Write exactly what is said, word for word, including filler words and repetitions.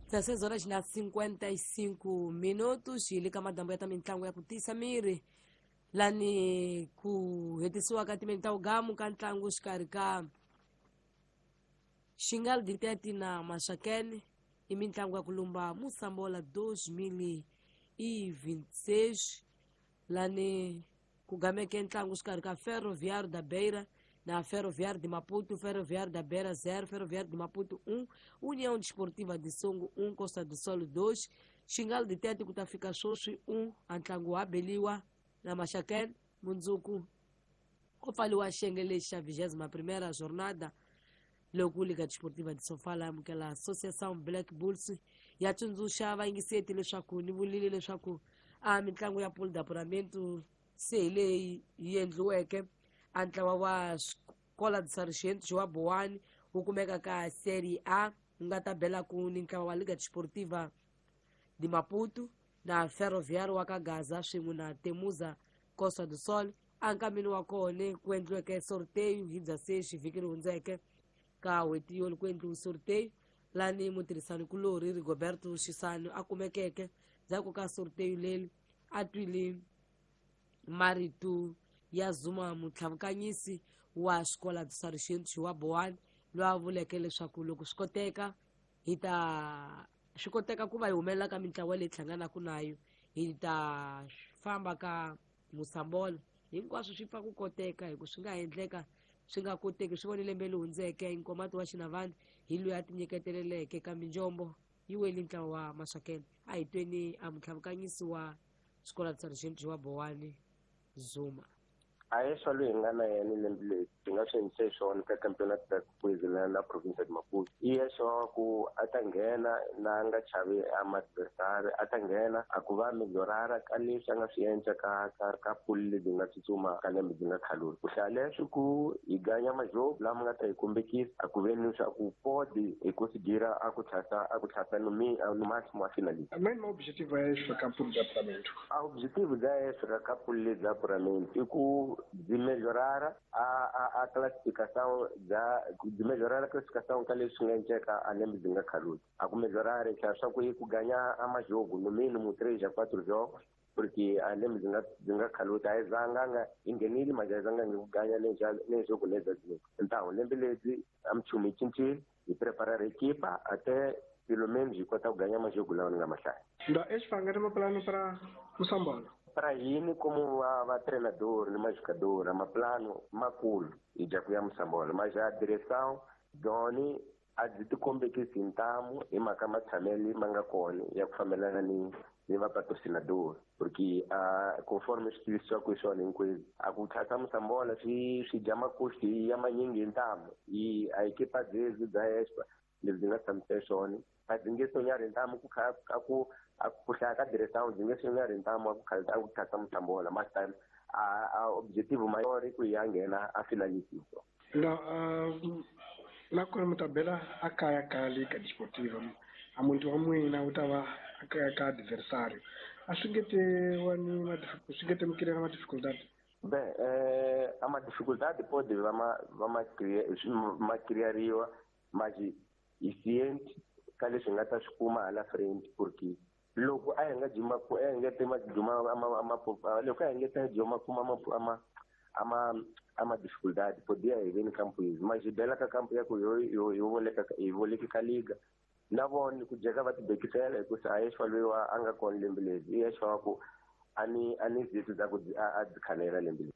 dezesseis horas na cinquenta e cinco minutos hi le ka madambu ya ta mitlangu ya ku tiyisa miri lani ku hetisiwa ka timeni ta ugamu ka ntlangu xikarhi ka Xingal Ditete na Maxakene i mitlangu ya ku lumba Moçambola dois mil e vinte e seis lani ku gameke ntlangu xikarhi ka Ferroviário da Beira na Ferroviário de Maputo, Ferroviário da Beira zero, Ferroviário de Maputo um, União Desportiva de Songo um, Costa do Sol dois, Xingal de Tete ku ta fika swoswi um, a ntlangu wa beliwa na Maxakene mundzuku ku pfaliwa xiyenge lexi xa vigésima primeira jornada loko Liga Desportiva de Sofala amukela Associação Black Bulls ya tsundzuxa vayingiseti leswaku ni vulile leswaku a mitlangu ya pool d'apuramento se hi leyi yi endliweke a ntlawa wa Escola de Sargento João Boane wu kumeka ka Série A wu nga ta belaku ni ntlawa wa Liga Desportiva de Maputo na Ferroviário wa ka Gaza swin'we na Temuza Costa do Sol. A nkameni wa kona ku endliweke sorteio hi bya sexi vhiki ri hundzeke ka n'hweti yo ku endliwe sorteio lani mutirhisani kulorhi Rigoberto Xisani a kumekeke ndzhaku ka sorteio leri a twile marito ya Zuma mutlhavukanyisi wa Escola de Sargento João Boane loyi a vuleke leswaku loko swi koteka hi ta swi koteka ku va hi humelela ka mintlawa leyi hlanganaka nayo hi ta famba ka Moçambola hinkwaswo swi pfa ku koteka hi ku swi nga endleka swi nga koteki swi vone lembe leri hundzeke Nkomati wa Xinavani hi loyi a tinyiketeleleke kambe njombo yi weli ntlawa wa Maxakene. A hi tweni a mutlhavukanyisi wa Escola de Sargento João Boane Zuma. A yeswa loyi hi nga na yena lembe leri hi nga swi endlise swona ka campeonato da Kwezela na province de Maputo i yeswa ku a ta nghena na nga chavi a ma-adversary a ta nghena a ku va melhorara ka leswi a nga swi endla ka ka ka pool lebyi nga tsutsuma ka lembe byi nga khalula ku hlaya leswi ku hi ganya majogo lama nga ta hi kombekisa a ku veni leswaku podi hi kusigira a ku tlhasa a ku tlhasa no no máximo a finalista. Main objetivo é esse ka pool de apuramento. A objetivo da esse ka pool de apuramento i ku de melhorar a, a, a classificação da de melhorar a classificação ka leswi nga endleka a lembe byi nga khaluti a ku melhorar swa ku yi ku ganya a majogo no mínimo três a quatro jogos porque a lembe byi nga byi nga khaluti a yi zanga yi nghenile mas a yi zanga ku ganya le jogo leza então lembe lebyi a minchumu yi cincile hi preparar equipa até pelo menos hi kota ku ganya majogo lawa ni nga mahlaya. Então esse foi um plano para Moçambola. Para hina como a, a treinador, ni jogador, é um plano makulu e já ku ya Moçambola, mas a direção doni a byi tikombekisi ntamu hi mhaka matshamelo ma nga kona ya ku fambelana ni ni va patrocinador porque a conforme swi tivisiwaka hi swona hinkwenu a ku tlhasa Moçambola swi swi dya makosti ya manyingi hi ntamu i a ekipa byezi bya Espa lebyi nga tshamisa swona a byi nge sonyari ntamu ku kha a ku a ku hlaya ka direção byi nge sonyari ntamu a ku kha a ku tlhasa Moçambola mas time a a objetivo maior i ku ya nghena a finalista. Não, uh, na kona mi ta bela a kaya ka Liga Desportiva a muntu wa n'wina wu ta va a kaya ka adversário a swi nge te wa ni ma swi nge te mi kirela ma dificuldade. Bem, eh, a uma dificuldade pode va ma va ma ma criariwa mas i ciente ka leswi nga ta swi kuma hala frente porque loko a hi nga jima ku a hi nga te ma juma ama ama loko a hi nga ta juma kuma ama ama ama ama dificuldade podia hi veni campo izwi mas hi bela ka campo ya ku yo yo yo voleka hi voleki ka liga na vona ku jeka va tibekisela hikusa a yexwa loyi wa a nga kona lembe leri i yexwa wa ku a ni a ni zitu za ku a byi khanela lembe leri.